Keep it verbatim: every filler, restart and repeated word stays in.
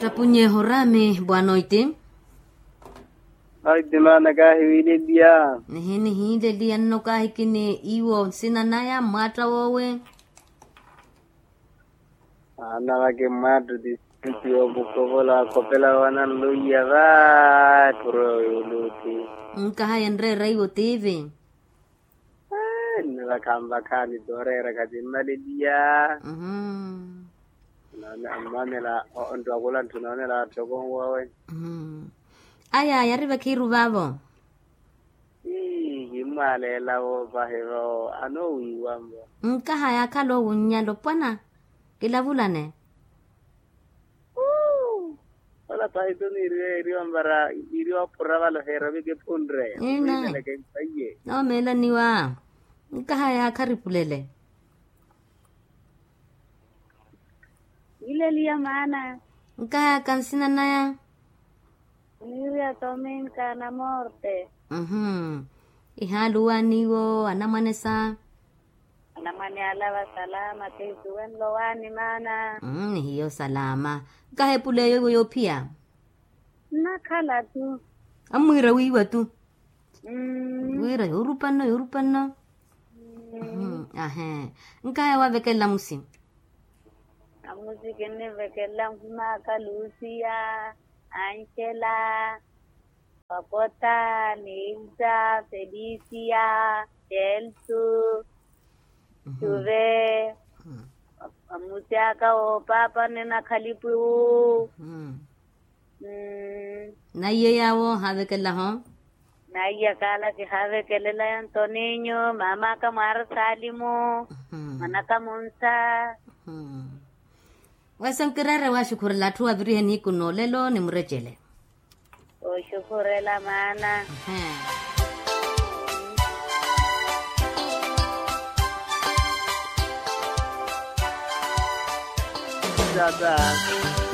Apunyeho rami bwanoiti. Aitimaana kahiwileliya. Nihi nihiileliya nno kahikini iwo nsina naya mmwaatta wowe. Aana vaki mmwaatta oti sinti opukovola akhopela wananluwiya va. Epuro yoluti. Nkaha yenreera iwo tivi. Nivakhanvakhaani tooreera khatimmaleliya. Ammamela onttuwakula ntthuna onela atthoko nwawe. Aya yari vakhiiru vaavo. Ii kimmwaleela voopahi vao anoowiiwanvo. Nkaha yaakhala owunnyala opwana. Kilavulane. Ola pahi tu niiriwa eeriwa mbara niiriwa opura vale oheera ovika ephunre. Ina. Owiimeleke mpaiye. Noomeelaniwa. Nkaha yaakharipulele. Ileliya maana. Nkaha yaaka nsina naya. Niiriwa tominka na morte. Ihaaluwaniwo anamwanesa. Anamwane ala vasalama kheisuwenle owaani maana. Nihiyo salama. Nkaha epula eyo iwo yoophiya. Nnakhala tu. Ammwiira wiiwa tu. Wiira yoorupa nno yoorupa nno. Ahee. Nkaha yaawo avekelela amusi. Amusi kinnivekelela nhumaaka lucia, ancela, pakota, nilta, felisia, celso, juve. Amusi aka woopaapa nne na khalipiwu. Naiye yaawo haavekelelaho. Naiye kaala kihaavekelelaya ntoninyu maamaka mwaari salimu. Mwanaka munsa. Wesa nkireere waxukhurela atthu avirihe niiku noolelo ni murecele. Oxukhurela maana. Tata.